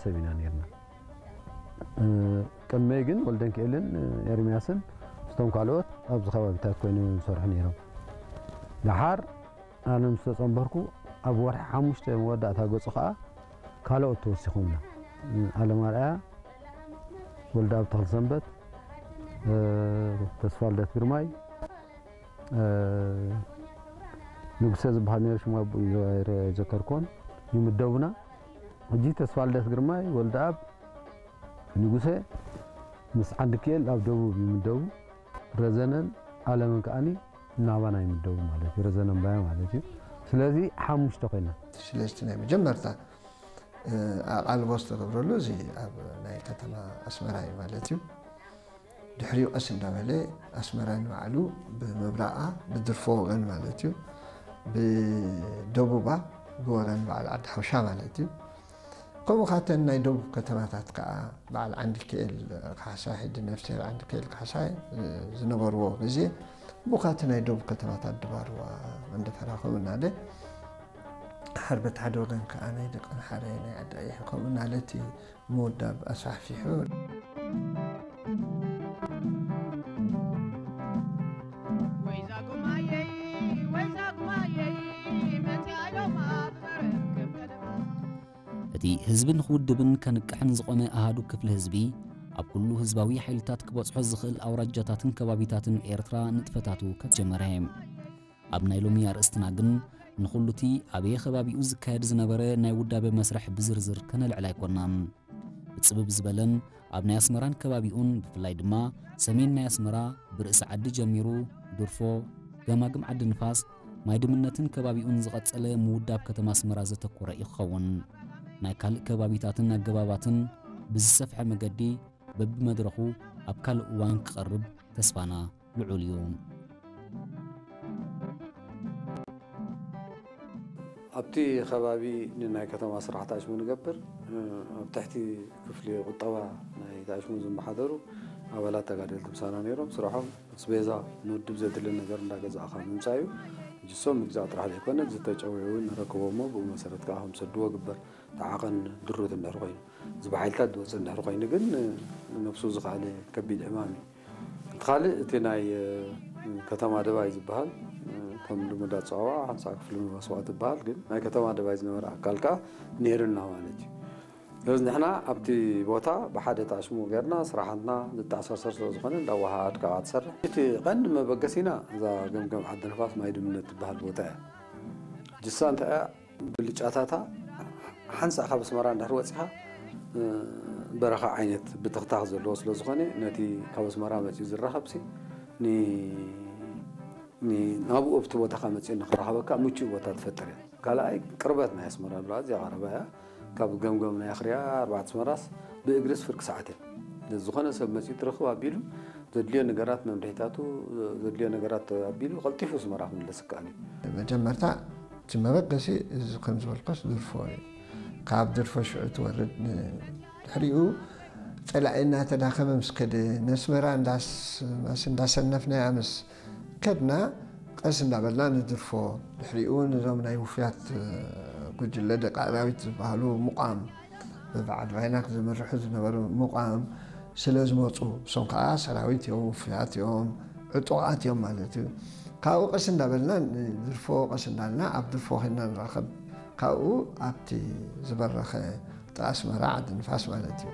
ሰብ ኢና ነርና። ቅድመይ ግን ወልደንክኤልን ኤርምያስን ምስቶም ካልኦት ኣብዚ ከባቢታት ኮይኖም እዮም ዝሰርሑ ነይሮም። ደሓር ኣነ ምስ ተጸንበርኩ ኣብ ወርሒ ሓሙሽተ መወዳእታ ገጹ ከኣ ካልኦት ተወሲኾምና። ኣለማርኣያ ወልደኣብ ተኽለሰንበት፣ ተስፋልደት ግርማይ፣ ንጉሰ ዝበሃል ነይሩ፣ ሽሙ ኣብኡ ይዘከርኮን ይምደቡና። ሕጂ ተስፋልደት ግርማይ፣ ወልደኣብ፣ ንጉሰ ምስ ዓንድክኤል ኣብ ደቡብ ይምደቡ። ረዘነን ኣለምን ከኣኒ ናባና ይምደቡ ማለት እዩ። ረዘነን ባያ ማለት እዩ። ስለዚ ሓሙሽተ ኮይና። ስለስቲ ናይ መጀመርታ ኣቓልቦ ዝተገብረሉ እዚ ኣብ ናይ ከተማ ኣስመራ እዩ ማለት እዩ። ድሕሪኡ ቀስ እንዳበለ ኣስመራ ንባዕሉ ብምብራቓ ብድርፎ ወገን ማለት እዩ፣ ብደቡባ ብወገን በዓል ዓዲ ሓውሻ ማለት እዩ። ከምኡ ካተን ናይ ደቡብ ከተማታት ከዓ በዓል ዓንዲክኤል ካሕሳይ፣ ሕጂ ነፍስሄር ዓንዲክኤል ካሕሳይ ዝነበርዎ ግዜ ብኡ ካቲ ናይ ደቡብ ከተማታት ድባርዋ፣ መንደፈራ ከምኡ እናለ ሓርበት ሓደ ወገን ከዓ ናይ ደቀምሓረ ናይ ዓዲ ቀይሕ ከምኡ እናለ እቲ ምውዳብ ኣስፋሕፊሑ። እቲ ህዝብን ክውድብን ከንቅሕን ዝቖመ ኣሃዱ ክፍሊ ህዝቢ፣ ኣብ ኩሉ ህዝባዊ ሓይልታት ክበጽሖ ዝኽእል ኣውራጃታትን ከባቢታትን ኤርትራ ንጥፈታቱ ከጀመረ። ኣብ ናይ ሎሚ ኣርእስትና ግን ንኹሉቲ ኣበየ ከባቢኡ ዝካየድ ዝነበረ ናይ ውዳበ መስርሕ ብዝርዝር ከነልዕል ኣይኮናን። ብጽብብ ዝበለን ኣብ ናይ ኣስመራን ከባቢኡን ብፍላይ ድማ ሰሜን ናይ ኣስመራ ብርእሲ ዓዲ ጀሚሩ ድርፎ፣ ገማግም ዓዲ ንፋስ፣ ማይ ድምነትን ከባቢኡን ዝቐጸለ ምውዳብ ከተማ ኣስመራ ዘተኮረ እዩ ክኸውን። ናይ ካልእ ከባቢታትን ኣገባባትን ብዝሰፍሐ መገዲ በብመድረኹ ኣብ ካልእ እዋን ክቐርብ ተስፋና ልዑል እዩ። ኣብቲ ከባቢ ንናይ ከተማ ስራሕቲ ኣሽሙ ንገብር ኣብ ትሕቲ ክፍሊ ቁጠባ ናይ ኣሽሙ ዝመሓደሩ ኣባላት ተጋደልቲ ምሳና ነይሮም። ስራሖም ኣስቤዛ ንውድብ ዘድሊ ነገር እንዳገዛእኻ ምምፃእ እዩ። እጅሶም ምግዛእ ጥራሕ ዘይኮነ ዝተጨውዩ እውን ንረክቦ እሞ ብኡ መሰረት ከዓ ከም ሰድዎ ግበር ተዓቐን ድሩት እንድሕር ኮይኑ እዚ ብሓይልታት ዝወፅእ እንድሕር ኮይኑ ግን ነብሱ ዝኸኣለ ከቢድ ዕማም እዩ። እቲ ካልእ እቲ ናይ ከተማ ደባይ ዝበሃል ከም ልሙድ ኣፀዋውዓ ሓንሳእ ክፍሊ መስዋእቲ ይበሃል። ግን ናይ ከተማ ደባይ ዝነበረ ኣካል ከዓ ነይሩና ማለት እዩ። ስለዚ ንሕና ኣብቲ ቦታ ብሓደ ታሽሙ ጌርና ስራሕትና ዝተኣሳሰር ስለ ዝኾነ እንዳወሃሃድካ ትሰርሕ። እቲ ቀንዲ መበገሲና እዛ ገምገም ዓዲ ንፋስ ማይ ድምነት ትበሃል ቦታ እያ። ጅሳ እንታይ እያ ብልጫታታ ሓንሳእ ካብ ኣስመራ እንድሕር ወፂኻ በረኻ ዓይነት ብትኽታኽ ዘለዎ ስለ ዝኾነ ነቲ ካብ ኣስመራ መፂኡ ዝራኸብሲ ናብኡ ኣብቲ ቦታኻ መፂኡ ንኽራኸበካ ምቹ ቦታ ትፈጥር እያ። ካልኣይ ቅርበት ናይ ኣስመራ ብላ እዚኣ ቀረባ እያ። ካብ ገምገም ናይ ኣኽርያ ኣርባዕተ ኣስመራስ ብእግርስ ፍርቂ ሰዓት እያ። ዝኾነ ሰብ መፂኡ ትረኽብ ኣቢሉ ዘድልዮ ነገራት መምርሒታቱ ዘድልዮ ነገራት ኣቢሉ ቀልጢፉ ኣስመራ ክምለስ ይከኣል እዩ። መጀመርታ እቲ መበገሲ እዚ ከም ዝበልኮስ ድርፎ እዩ። ካብ ድርፎ ሽዑ ትወርድ ድሕሪኡ ፀላኢ እናተዳኸመ ምስ ከደ ነስመራ እንዳሰነፍናያ ምስ ከድና ቀስ እንዳበልና ንድርፎ ድሕሪኡ ነዞም ናይ ውፍያት ጉጅለ ደቂ ኣራዊት ዝበሃሉ ምቋም በበዓል ቫይናክ ዝምርሑ ዝነበሩ ምቋም ስለ ዝመፁ እሶም ከዓ ሰራዊት እዮም ውፍያት እዮም ዕጡቓት እዮም ማለት እዩ። ካብኡ ቀስ እንዳበልና ንድርፎ ቀስ እንዳልና ኣብ ድርፎ ኮይና ንራኸብ ካብኡ ኣብቲ ዝበረኸ ኣስመራ ዓዲ ንፋስ ማለት እዩ።